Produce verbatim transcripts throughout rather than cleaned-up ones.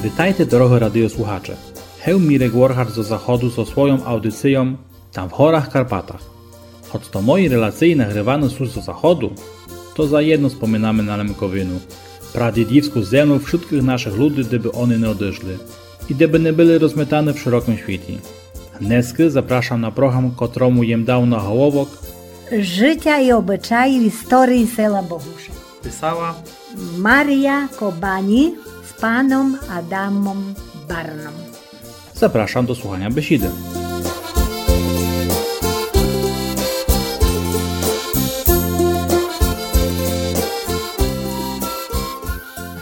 Витайте, дорогы радиослухаче. Гев Мірек Воргар зо заходу зо свойом аудицийом Там в горах Карпатах. Хоц то мої релациї нагрываны сут зо заходу, то заєдно споминаме на Лемковину, прадїдівску землю вшыткых нашых люди, де бы они не одышли і де бы не были розметаны в шырокым світі. Днеска запрашам на програм, котрому єм дав наголовок Жытя і обычаї в історії села Богуша. Писала Марія Кобані з паном Адамом Барном. Запрашам до слуханя бесіды.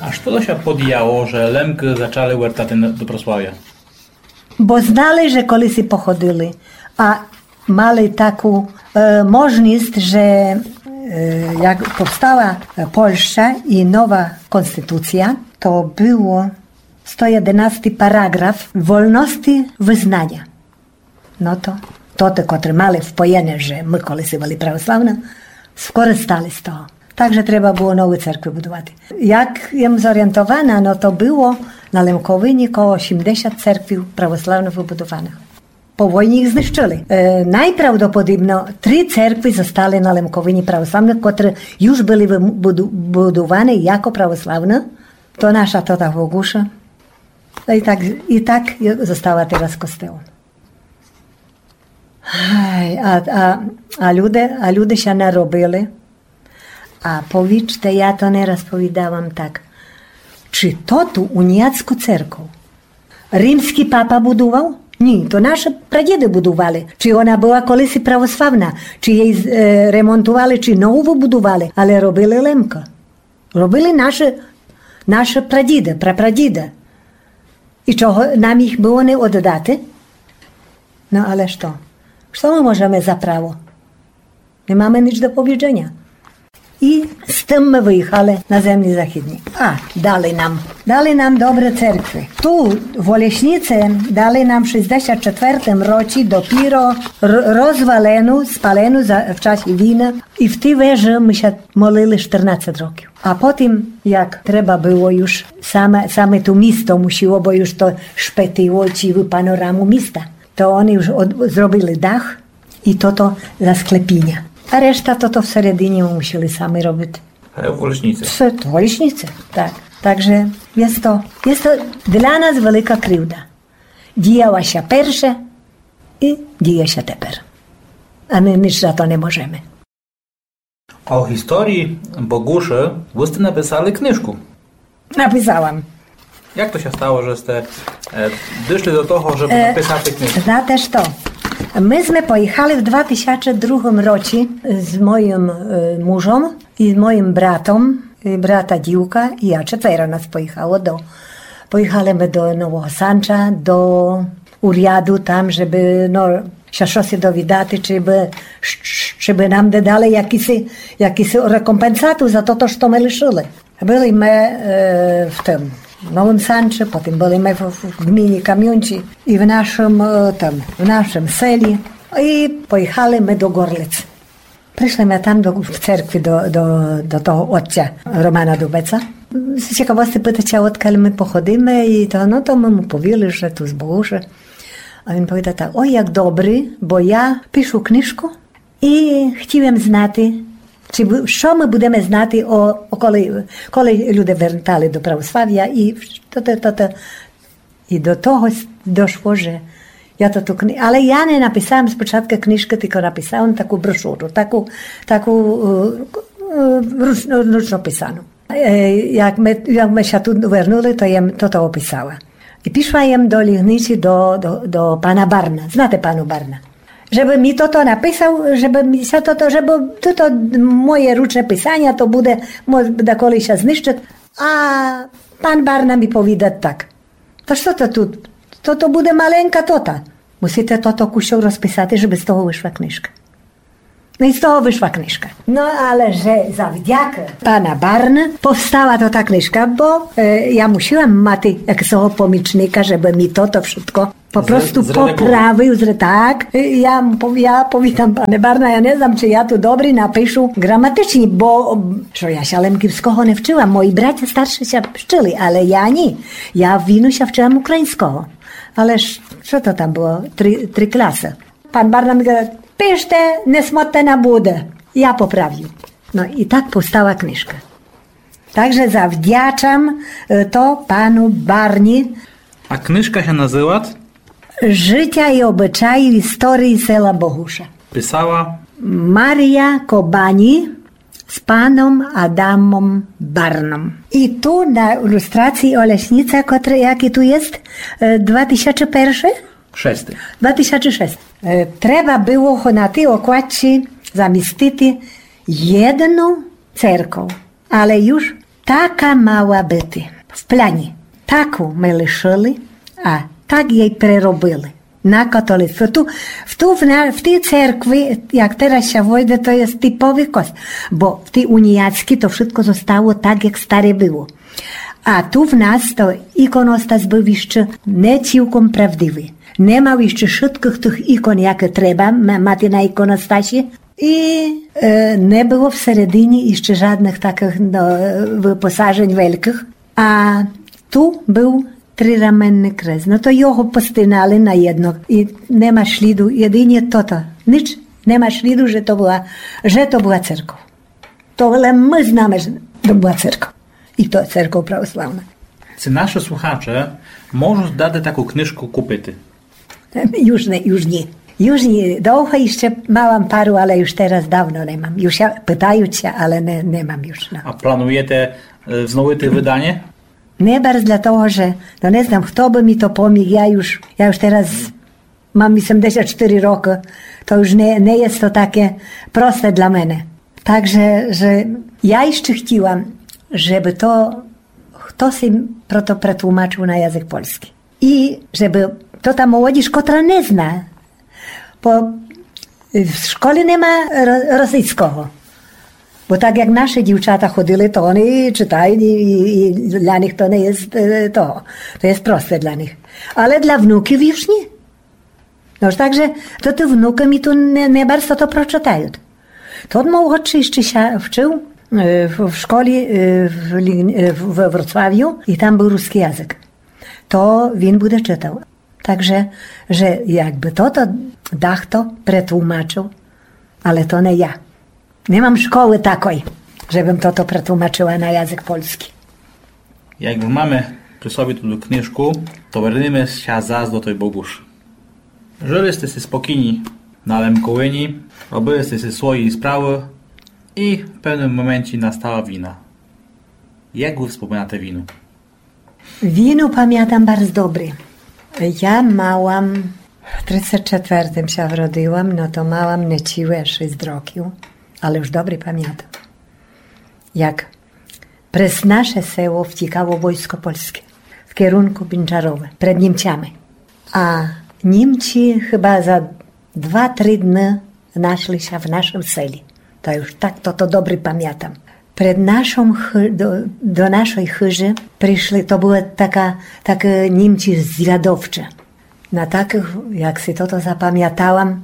А што то ся подіяло, же Лемкы зачали вертати на, до православя? Бо знали, же колиси походили, а мали таку, е, можность, же, е, як повстала, е, Польща і нова конституция, то было сто єдинасти параграф вольности визнаня. Но то, то тоты, котры мали впоєне, же мы колиси были православны, скористали з того. Так же треба было новы церкви будувати. Як єм зорієнтована, но то было на Лемковині коло сімдесят церкви православных выбудованых. По войні їх знищыли. Е, найправдоподібно три церкви зостали на Лемковині православных, котры юж были выбуду-, будуваны яко православны. То наша, то та в Богуша. Та і так, і так зостала тераз костел. Ай, а, а, а люди, а люди ся наробили. А повіджте, я то не раз повідавам так. Чи то ту уніяцку церков римскій папа будував? Ні, то нашы прадїды будували. Чи она была колиси православна, чи єй, е, ремонтували, чи нову выбудували, але робили Лемкы. Робили нашы, нашы прадїды, прапрадїды. І чого нам їх было не оддати? Но але што? Што мы можеме за право? Не маме ніч до повідженя. І з тым мы выїхали на землі західні. А, дали нам, дали нам добры церкви. Ту в Олешніці дали нам в шістдесят четвертым році допіро р-, розвалену, спалену за, в часі війны. І в тій вежы мы ся молили штырнадцет років. А потім, як треба было юж, саме, саме то місто мусило, бо юж то шпетило цілу панораму міста, то они юж од-, зробили дах і тото за склепіня. А решта тото всередині мы мусили самі робити. А в Олешніці? Все, в Олешніці, так. Так же єст то, єст то для нас велика кривда. Діяла ся перше і діє ся тепер. А мы ніч за то не можеме. О історії Богуши вы сте написали книжку. Написала м. Як то ся стало, же сте, е, дошли до того, жебы, е, написати книжку? Знате што? Мы сме поїхали в два тисячы другым році з моїм, е, мужом і з моїм братом, і брата дівка, і я, четверо нас поїхало до, поїхали мы до Нового Санча, до уряду там, жебы, но, ся штоси довідати, чи бы, ш-, ш-, чи бы нам не дали якыси, якыси рекомпенсату за тото, што мы лишыли. Были мы, е, в тым Новым Санчы, потім были мы в, в гміні Камюнці і в нашым, е, тым, в нашым селі. І поїхали мы до Горлиц. Пришли мы там до, в церкви до, до, до того отця Романа Дубеца. З цікавости питать ся, одкаль мы походиме, і то, но, то мы му повіли, же ту з Богуши. А він повідат так: «Ой, як добрі, бо я пишу книжку і хотів єм знати, чи бу-, што мы будеме знати о, о коли, коли люди вертали до православя і то, то, то, то». І до того с-, дошло, же я то ту кни-, але я не написала м спочатку книжкы, тілько написала м таку брошуру, таку, таку, е, е, руч-, ручно писану. Е, як мы, як мы ся ту вернули, то єм тото описала. І пішла єм до Лігниці до, до, до пана Барна. Знате пана Барна? Жебы мі тото написав, жебы мі ся тото, жебы тото моє ручне писаня, то буде, мо-, даколи ся знищыт. А пан Барна мі повідат так: «Та што то ту? То, то буде маленька тота. Мусите тото кусок розписати, жебы з того вышла книжка». Но і з того вышла книжка. Но але же завдякы пана Барны повстала тота книжка, бо е, я мусіла мати якысого помічника, жебы мі тото вшытко по просту поправил, так. Я, я повідам, пане Барна, я не знам, ци я ту добрі напишу граматычні, бо што я ся лемківского не вчыла, мої братя старшы ся вчыли, але я ні. Я віну ся вчыла україньского. Але што то там было? Три, три класы. Пан Барна мі гада: пиште, не смотте на буде. Я поправю. Но і так повстала книжка. Так же завдячам е, то пану Барні. А книжка ся называт? Жытя і обычаї історії села Богуша. Писала? Марія Кобані з паном Адамом Барном. І ту на ілюстрації Олешніца, котра, якы ту єст, е, два тисячы першы? Шесты. Два тисячы шесты. Е, треба было го на тій окладці замістити єдну церков. Але юж така мала быти в пляні. Таку мы лишыли, а так єй преробили на католицтво. Ту, в, ту, в, на, в тій церкви, як тераз ся войде, то є типовый кос-, бо в тій уніяцькій то вшытко зостало так, як старе было. А ту в нас то іконостас был іщы не цілком правдивый. Не мал іщы вшыткых тых ікон, якы треба м-, мати на іконостасі. І е, не было всередині іщы жадных такых, но, выпосажень велькых. А ту был трираменный крест. Но то його постинали на єдно. І нема шліду, єдині тото. Нич нема шліду, же то была, же то была церков. То лем мы знаме, же то была церков. І то церков православна. Ци нашы слухаче можут дати таку книжку купити? Юж не, юж ні. Юж ні. Довго іщы мала м пару, але юж тераз давно не мам. Юж ся пытают ся, але не, не мам юж, но. А плануєте е, взновити выданя? Не барз для того, же, но, не знам, хто бы мі то поміг. Я юж, я юж тераз мам вісемдесят штыри рокы. То юж не, не є то таке просте для мене. Так же, же я іщы хтіла, жебы то хтоси про то претлумачыл на язык польскій. І жебы то та молодіж, котра не зна, бо в школі нема ро-, російского. Бо так як нашы дівчата ходили, то они читают і, і, і для них то не є е, того. То є просте для них. Але для внуків юж ні. Но ж так же то ты внукы мі ту не, не барз то прочитают. Тот молодшый іщы ся вчыл е, в, в школі е, в, Лі-, е, в, в Вроцлавю і там был рускій язык. То він буде читал. Так же, же якбы тото дахто претлумачыл, але то не я. Не мам школы такой, жебым тото претлумачыла на язык польскій. Як маме прі собі туту книжку, то вернеме ся зас до той Богушы. Жыли сте си спокійні на Лемковині, робили сте си свої справы і в певным моменті настала війна. Як вы споминате війну? Війну памятам барз добрі. Я мала м, в тридцет четвертым ся вродила м, но то мала м неціле шіст років, але юж добрі памятам. Як през наше село втікало войско польскє в керунку Бінчарове, пред Німцями. А Німці хыба за два-три дны нашли ся в нашым селі. То юж так тото добрі памятам. Пред нашом хы-, до, до нашой хыжы пришли, то была така, такы Німці звядовчы. На такых, як си тото запамятала м,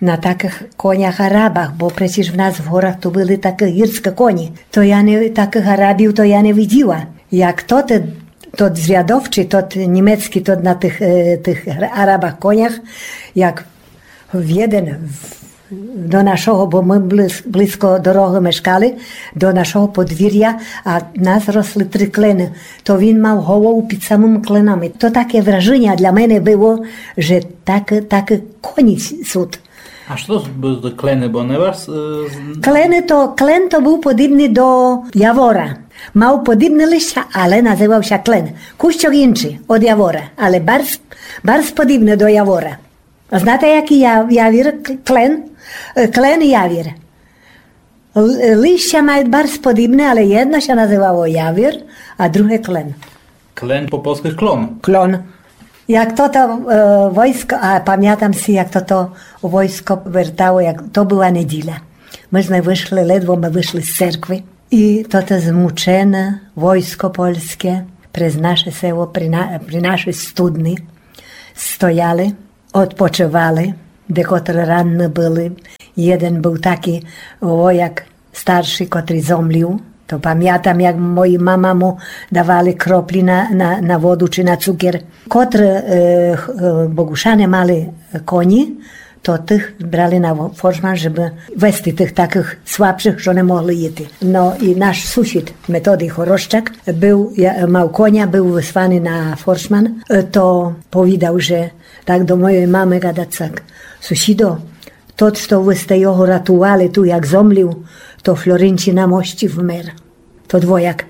на такых конях Арабах, бо преціж в нас в горах ту были такы гірскы коні. То я не, такых Арабів то я не виділа. Як тоты, тот звядовчый, тот німецкій, тот на тых, е, тых Арабах конях, як в єден в-, до нашого, бо мы близ-, близко дорогы мешкали, до нашого подвіря, а нас росли три клены, то він мав голову під самыма кленами. То таке вражыня для мене было, же так, так коні сут. А што то бу-, за клены, бо не вас, е, з- Клены то, клен то быв подібный до явора. Мав подібне листя, але называв ся клен. Кущок іншый од явора, але барз, барз подібне до явора. А знате, якый я-, явір, к-, клен? Е, клен явір. Л-, листя мають барз подібне, але єдно ся называло явір, а друге клен. Клен по польскы клон. Клон. Як тото войско, а памятам си, як тото войско вертало, як то была неділя. Мы зме вышли, ледво мы вышли з церкви. І тото змучене войско польске през наше село, при, на, при нашій студни стояли, одпочывали, декотры ранны были. Єден был такій вояк старший, котрий зомлів. То памятам, як мої мама му давали кроплі на, на, на воду чи на цукер. Котры е, х- е, Богушане мали коні, то тых брали на во- форшман, жебы вести тых такых слабшых, што не могли їти. Но і наш сусід Методий Хорощак был, я- мав коня, был высланый на форшман, е, то повідав, же так до мойой мамы гадать так: Сусідо, тот, што вы сте його ратували ту, як зомлів, то в Флоринці на мощі вмер. Тот вояк.